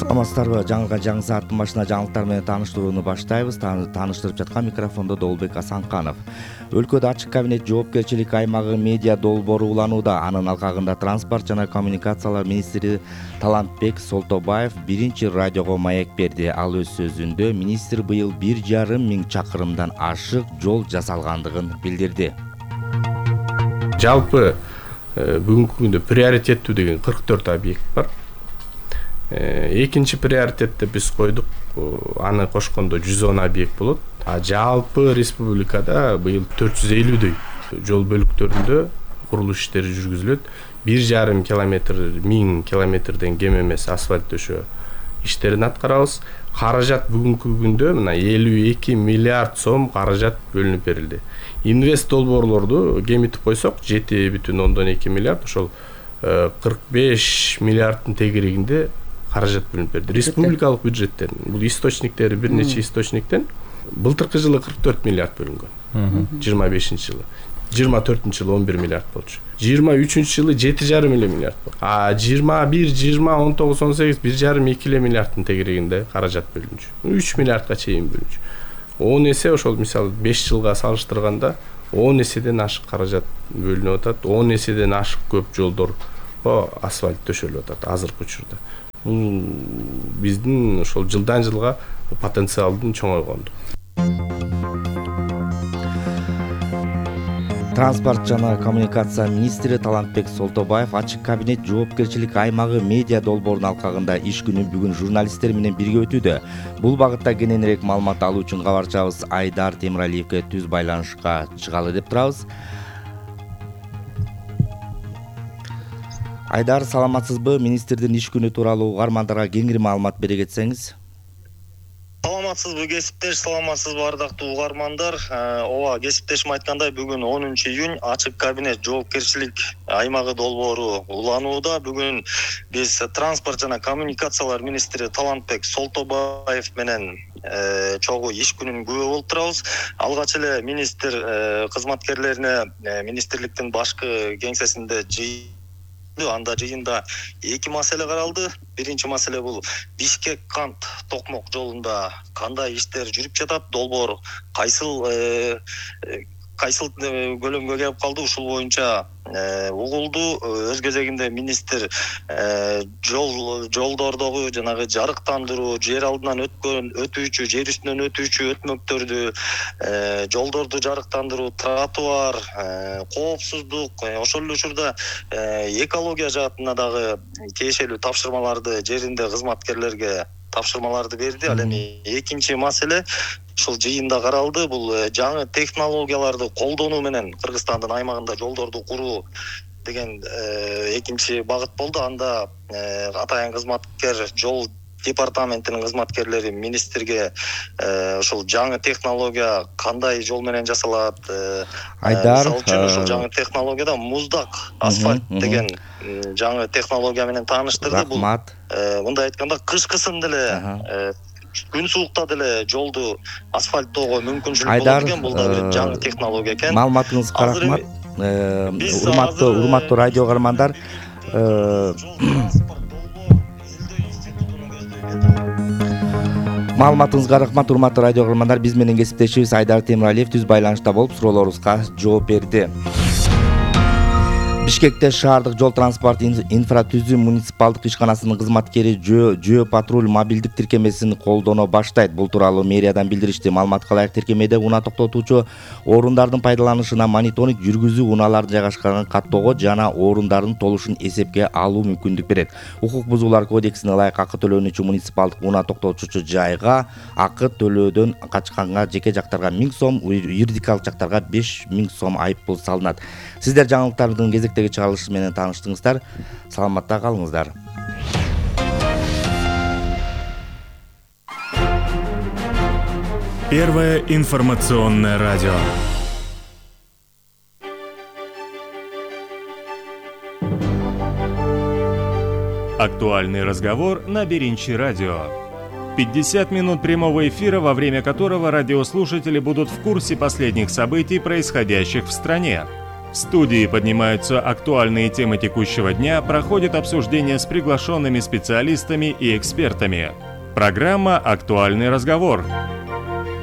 Саламатсыздарбы? Жаңы сааттын башына жаңылыктар менен тааныштырууну баштайбыз. Тааныштырып жаткан микрофондо Долбек Асанканов. Өлкөдө ачык кабинет жоопкерчилик аймагы медиа долбоору уланууда. Анын алкагында транспорт жана коммуникациялар министри Талантбек Солтобаев биринчи радиого маек берди. Ал өз сөзүндө министр быйыл 1,5 миң чакырымдан ашык жол жасалгандыгын билдирди. Жалпы бүгүнкү күндө приоритеттүү деген 44 объект бар. Экинчи приоритетте биз койдук, аны кошкондо 110 объект болот. Жалпы республикада быйыл 450дөй жол бөлүктөрүндө курулуш иштери жүргүзүлөт. 1,5 километр, 1000 километрден кем эмес асфальт төшөө иштерин аткарабыз. Каражат бүгүнкү күндө мына 52 миллиард сом каражат бөлүнүп берилди. Инвест долбоорлорду кемитип койсок 7,2 миллиард, ошол 45 миллиарддын тегерегинде каражат бөлүнүп берди. Республикалык бюджеттен, бул источниктери бир нече источниктен былтыркы жылы 44 миллиард бөлүнгөн. 25-жылы 24-жылы 11 миллиард болчу. 23-жылы 7,5 миллиард болду. 21, 20, 19, 18, 1,5-2 миллиарддын тегерегинде каражат бөлүнчү. 3 миллиардка чейин бөлүнчү. 10 эсе ошол мисалы 5 жылга салыштырганда 10 эседен ашык каражат бөлүнүп атат. 10 эседен ашык көп жолдор асфальт төшөлүп атат азыркы учурда. Бул биздин ошол жылдан жылга потенциалдын чоңойгондугу. Транспорт жана коммуникация министри Талантбек Солтобаев ачык кабинет жоопкерчилик аймагы медиа долбоорунун алкагында иш күнү бүгүн журналисттер менен бирге өтүүдө. Бул багытта кененирээк маалымат алуу үчүн кабарчыбыз Айдар Темиралиевге түз байланышка чыгалы деп турабыз. Айдар, саламатсызбы? Министрдин иш күнү тууралуу угармандарга кеңири маалымат бере кетсеңиз. Саламатсызбы кесиптеш, саламатсызбы ардактуу угармандар. Ооба, кесиптешим айткандай, бүгүн 10-июнь ачык кабинет жоопкерчилик аймагы долбоору уланууда. Бүгүн биз транспорт жана коммуникациялар министри Талантбек Солтобаев менен чогуу иш күнүнүн күбө болуп турабыз. Алгач эле министр кызматкерлерине министрликтин башкы кеңсесинде анда жыйында эки маселе каралды. Биринчи маселе бул Бишкек-Кант Токмок жолунда кандай иштер жүрүп жатат, долбоор кайсыл көлөмгө келип калды, ушул боюнча угулду. Өз кезегинде министр жолдордогу жанагы жарыктандыруу, жер алдынан өтүүчү, жер үстүнөн өтүүчү өтмөктөрдү, жолдорду жарыктандыруу, тротуар, коопсуздук, ошол эле учурда экология жаатына дагы тиешелүү тапшырмаларды жеринде кызматкерлерге тапшырмаларды берди. Ал эми экинчи маселе ушул жыйында каралды. Бул жаңы технологияларды колдонуу менен Кыргызстандын аймагында жолдорду куруу деген экинчи багыт болду. Анда атайын кызматкер, жол департаментинин кызматкерлери министрге ушул жаңы технология кандай жол менен жасалат, Айдар, мисалы үчүн ушул жаңы технологияда муздак асфальт деген жаңы технология менен тааныштырды. Бул мындай айтканда кышкысын деле күн суукта деле жолду асфальттоого мүмкүнчүлүк болот экен. Бул да бир жаңы технология экен. Маалыматыңызга рахмат. Урматтуу радио угармандар, маалыматыңызга рахмат. Урматтуу радио угармандар, биз менен кесиптешибиз Айдар Темиралиев түз байланышта болуп суроолорубузга жооп берди. Бишкекте шаардык жол транспорт инфратүзүм муниципалдык ишканасынын кызматкери жөө патруль мобилдик тиркемесин колдоно баштайт. Бул тууралуу мэриядан билдиришти. Маалыматка ылайык, тиркемеде унаа токтотуучу орундардын пайдаланышына мониторинг жүргүзүү, унааларды жайгашкан каттоого жана орундардын толушун эсепке алуу мүмкүндүк берет. Укук бузуулар кодексине ылайык акы төлөнүүчү муниципалдык унаа токтотуучу жайга акы төлөөдөн качканга жеке жактарга 1000 сом, юридикалык жактарга 5000 сом айыппул салынат. Сиздер жаңылыктардын кезектеги чыгарылышы менен тааныштыңыздар. Саламатта калыңыздар. Первое информационное радио. Актуальный разговор на Беринчи радио. 50 минут прямого эфира, во время которого радиослушатели будут в курсе последних событий, происходящих в стране. В студии поднимаются актуальные темы текущего дня, проходит обсуждение с приглашенными специалистами и экспертами. Программа «Актуальный разговор».